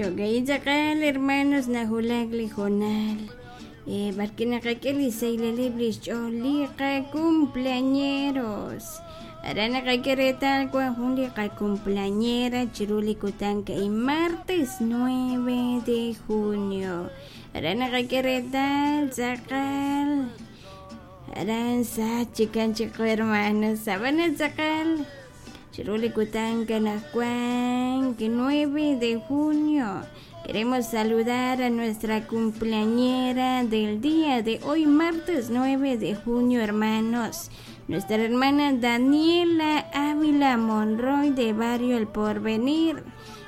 Jo'ka'in tz'aqal hermanos nahulak li hoonal b'arwi' naqak'e li xsahilaleb' li xch'ool li qacumpleañeros. Aran naqak'e reetal wan jun li qacumpleañera chiru li kutan ka'in martes 9 de junio. Aran naqak'e reetal tz'aqal aran sach chikan chiqu hermanos ab'anan tz'aqal chiru li kutan anaqwan 9 de junio. Queremos saludar a nuestra cumpleañera del día de hoy, martes 9 de junio, hermanos. Nuestra hermana Daniela Ávila Monroy de Barrio El Porvenir,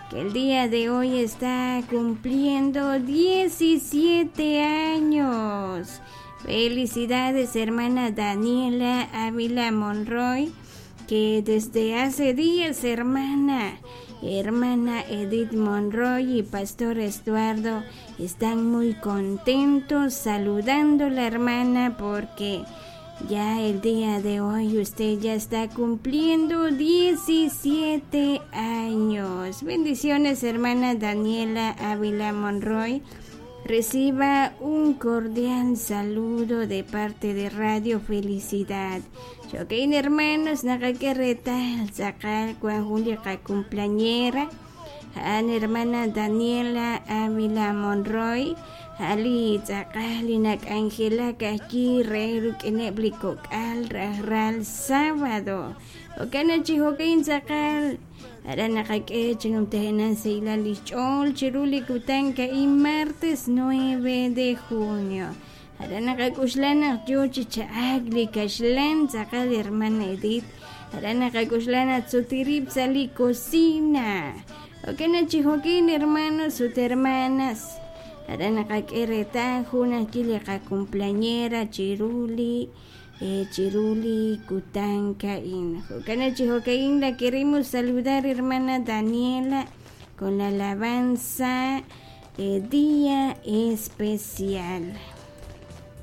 que el día de hoy está cumpliendo 17 años. Felicidades, hermana Daniela Ávila Monroy, que desde hace días, hermana, hermana Edith Monroy y Pastor Estuardo están muy contentos saludando a la hermana porque ya el día de hoy usted ya está cumpliendo 17 años. Bendiciones, hermana Daniela Ávila Monroy. Reciba un cordial saludo de parte de Radio Felicidad. Jo'kan hermanos, naqak'e reetal tz'aqal wan jun li qacumpleañera a'an hermana Daniela Ávila Monroy a'an li tz'aqal li nak'anjelak ajwi' re rik'ineb' li kok'al rajlal sábado. Jo'kan naq chi jo'kan tz'aqal aran naqak'e chi numtajenaq sahilal li xch'ool chiru li kutan ka'in martes 9 de junio. Aran naqak'uxla naq yoo chi cha'ak li kaxlan tz'aqal hermana Edith. Aran naqak'uxla naq sutirib' sa' li cocina. Jo'kan naq chi jo'kan hermanos ut hermanas. Aran naqak'e reetal jun ajwi' li qacumpleañera chiru li chiru li kutan ka'in. Jo'kan naq chi jo'kan la queremos saludar hermana Daniela con la alabanza Día Especial.